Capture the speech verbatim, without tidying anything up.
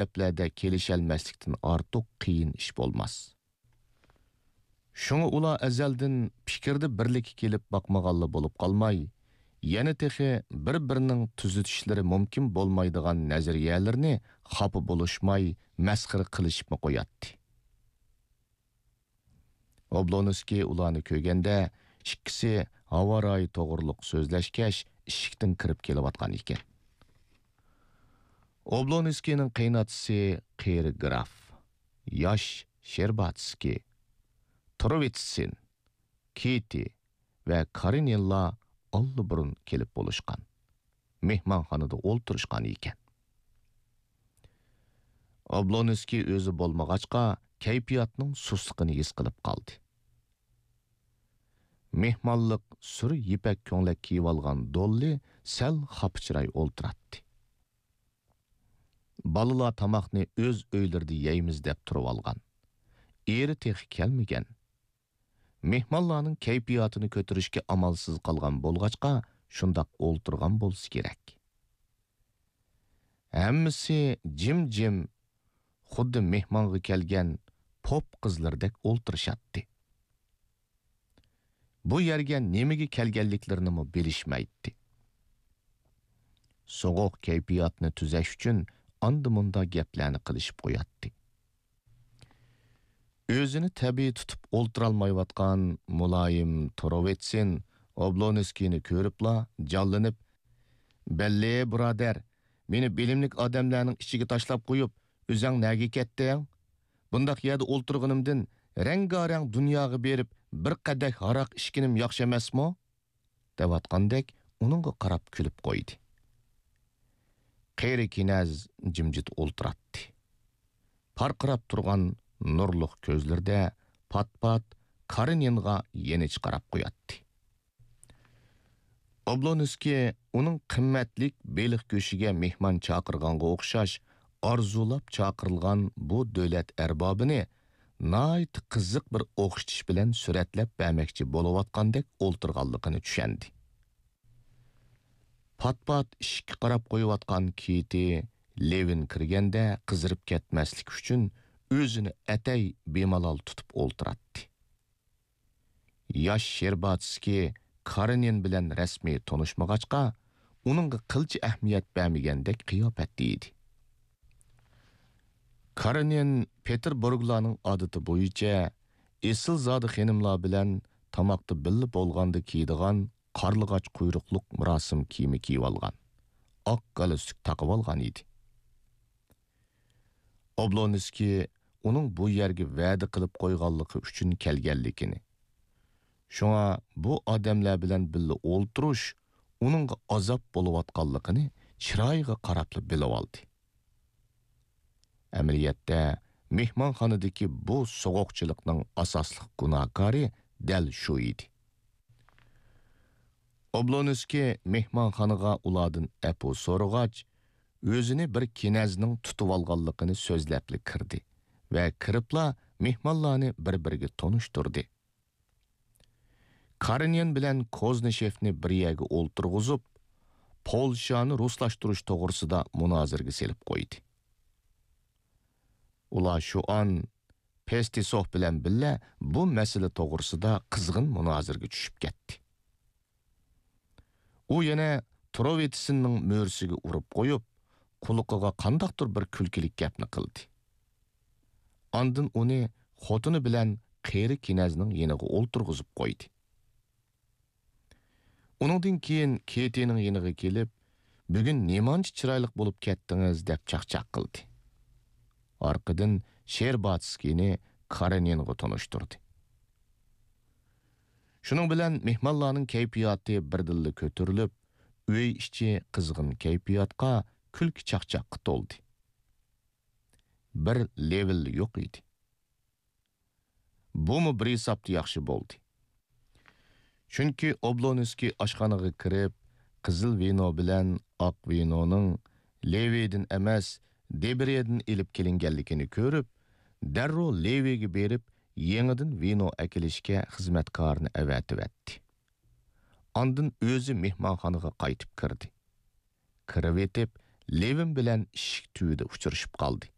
ئەپلەردە كېلىشەلمەسلىكتىن ئارتۇق قىيىن ئىش بولماس. شۇڭا ئۇلار ئەزەلدىن پىكىردە بىرلىككە كېلىپ باقمىغانلا بولۇپ قالماي، يەنە تېخى بىر-بىرىنىڭ تۈزىتىشلىرى مۇمكىن بولمايدىغان نەزەرىيەلىرىنى خاپا بولۇشماي مەسخىرە قىلىشىپمۇ قوياتتى. ئوبلونسكىي ئۇلارنى كۆرگەندە، ئىككىسى ھاۋا رايى توغرۇلۇق سۆزلەشكەچ، ئىشىكتىن كىرىپ كېلىۋاتقان ئىكەن. ئوبلونسكىينىڭ قېيىنئاتىسى قېرى گراف، ياش شېرباتسكىي، تروۋىتسىن، كىتى ۋە كارېنىنلار ئاللىبۇرۇن كېلىپ بولۇشقان، مېھمانخانىدا ئولتۇرۇشقان ئىكەن. ئوبلونسكىي ئۆزى بولمىغاچقا، كەيپىياتنىڭ سۇسلۇقىنى ھېس قىلىپ قالدى. مېھمانلىق سۈر يىپەك كۆڭلەك كىيىۋالغان دوللى سەل خاپىچىراي ئولتۇراتتى. بالىلار تاماقنى ئۆز ئۆيلىرىدە يەيمىز دەپ تۇرۇۋالغان. ئېرى تېخى كەلمىگەن. مېھمانلارنىڭ كەيپىياتىنى كۆتۈرۈشكە ئامالسىز قالغان بولغاچقا، شۇنداق ئولتۇرغان بولسا كېرەك. ھەممىسى جىم-جىم، خۇددى مېھمانغا كەلگەن پوپ قىزلىرىدەك ئولتۇرۇشاتتى. بۇ يەرگە نېمىگە كەلگەنلىكلىرىنىمۇ بىلىشمەيتتى. سوغۇق كەيپىياتنى تۈزەش ئۈچۈن ئاندا-مۇندا گەپلەرنى قىلىشىپ قوياتتى. ئۆزىنى تەبىئىي تۇتۇپ ئولتۇرالمايۋاتقان مۇلايىم تروۋىتسىن ئوبلونسكىينى كۆرۈپلا جانلىنىپ، «بەللى، بۇرادەر، مېنى بىلىملىك ئادەملەرنىڭ ئىچىگە تاشلاپ قويۇپ، ئۆزەڭ نەگە كەتتىڭ؟ بۇنداق يەردە ئولتۇرغىنىمدىن رەڭگارەڭ دۇنياغا بېرىپ، بىر قەدەھ ھاراق ئىچكىنىم ياخشى ئەمەسمۇ؟» دەۋاتقاندەك ئۇنىڭغا قاراپ كۈلۈپ قويدى. قېرى كىنەز جىمجىت ئولتۇراتتى. پارقىراپ تۇرغان نۇرلۇق كۆزلىرىدە پات-پات كارېنىنغا يېنىچە قاراپ قوياتتى. ئوبلونسكىي ئۇنىڭ قىممەتلىك بېلىق گۆشىگە مېھمان چاقىرغانغا ئوخشاش ئارزۇلاپ چاقىرىلغان بۇ دۆلەت ئەربابىنى ناھايىتى قىزىق بىر ئوخشىتىش بىلەن سۈرەتلەپ بەرمەكچى بولۇۋاتقاندەك ئولتۇرغانلىقىنى چۈشەندى. پات-پات ئىشىككە قاراپ قويۇۋاتقان كىتى لېۋىن كىرگەندە قىزىرىپ كەتمەسلىك ئۈچۈن ئۆزىنى ئەتەي بىمالال تۇتۇپ ئولتۇراتتى. ياش شېرباتسكىي كارېنىن بىلەن رەسمىي تونۇشمىغاچقا، ئۇنىڭغا قىلچە ئەھمىيەت بەرمىگەندەك قىياپەتتە ئىدى. كارېنىن پېتېربۇرگلارنىڭ ئادىتى بويىچە ئېسىلزادە خېنىملار بىلەن تاماقتا بىللە بولغاندا كىيىدىغان قارلىغاچ قۇيرۇقلۇق مۇراسىم كىيىمى كىيىۋالغان، ئاق گالستۇك تاقىۋالغان ئىدى. ئوبلونسكىي ئۇنىڭ بۇ يەرگە ۋەدە قىلىپ قويغانلىقى ئۈچۈن كەلگەنلىكىنى، شۇڭا بۇ ئادەملەر بىلەن بىللە ئولتۇرۇش ئۇنىڭغا ئازاب بولۇۋاتقانلىقىنى چىرايىغا قاراپلا بىلىۋالدى. ئەمەلىيەتتە، مېھمانخانىدىكى بۇ سوغۇقچىلىقنىڭ ئاساسلىق گۇناھكارى دەل شۇ ئىدى. ئوبلونسكىي مېھمانخانىغا ئۇلاردىن ئەپۇ سورىغاچ، ئۆزىنى بىر كىنەزنىڭ تۇتۇۋالغانلىقىنى سۆزلەپلا كىردى ۋە كىرىپلا مېھمانلارنى بىر-بىرىگە تونۇشتۇردى. كارېنىن بىلەن كوزنىشېفنى بىر يەرگە ئولتۇرغۇزۇپ، پولشانى رۇسلاشتۇرۇش توغرىسىدا مۇنازىرىگە سېلىپ قويدى. ئۇلار شۇ ئان پېستىسوف بىلەن بىللە بۇ مەسىلە توغرىسىدا قىزغىن مۇنازىرىگە چۈشۈپ كەتتى. ئۇ يەنە تروۋىتسىننىڭ مۈرىسىگە ئۇرۇپ قويۇپ، قۇلىقىغا قانداقتۇر بىر كۈلكىلىك گەپنى قىلدى. ئاندىن ئۇنى خوتۇنى بىلەن قېرى كىنەزنىڭ يېنىغا ئولتۇرغۇزۇپ قويدى. ئۇنىڭدىن كېيىن كېتىنىڭ يېنىغا كېلىپ، «بۈگۈن نېمانچە چىرايلىق بولۇپ كەتتىڭىز» دەپ چاقچاق قىلدى. ئارقىدىن شېرباتسكىينى كارېنىنغا تونۇشتۇردى. شۇنىڭ بىلەن مېھمانلارنىڭ كەيپىياتى بىردىنلا كۆتۈرۈلۈپ، ئۆي ئىچى قىزغىن كەيپىياتقا، كۈلكە-چاقچاققا تولدى. بىر لېۋىل يوق ئىدى. بۇمۇ بىر ھېسابتا ياخشى بولدى. چۈنكى ئوبلونسكىي ئاشخانىغا كىرىپ، قىزىل ۋىنو بىلەن ئاق ۋىنونىڭ لېۋىدىن ئەمەس، دېبريەدىن ئېلىپ كېلىنگەنلىكىنى كۆرۈپ، دەررۇ لېۋىگە بېرىپ، يېڭىدىن ۋىنو ئەكېلىشكە خىزمەتكارىنى ئەۋەتىۋەتتى. ئاندىن ئۆزى مېھمانخانىغا قايتىپ كىردى. كىرىۋېتىپ، لېۋىن بىلەن ئىشىك تۈۋىدە ئۇچرىشىپ قالدى.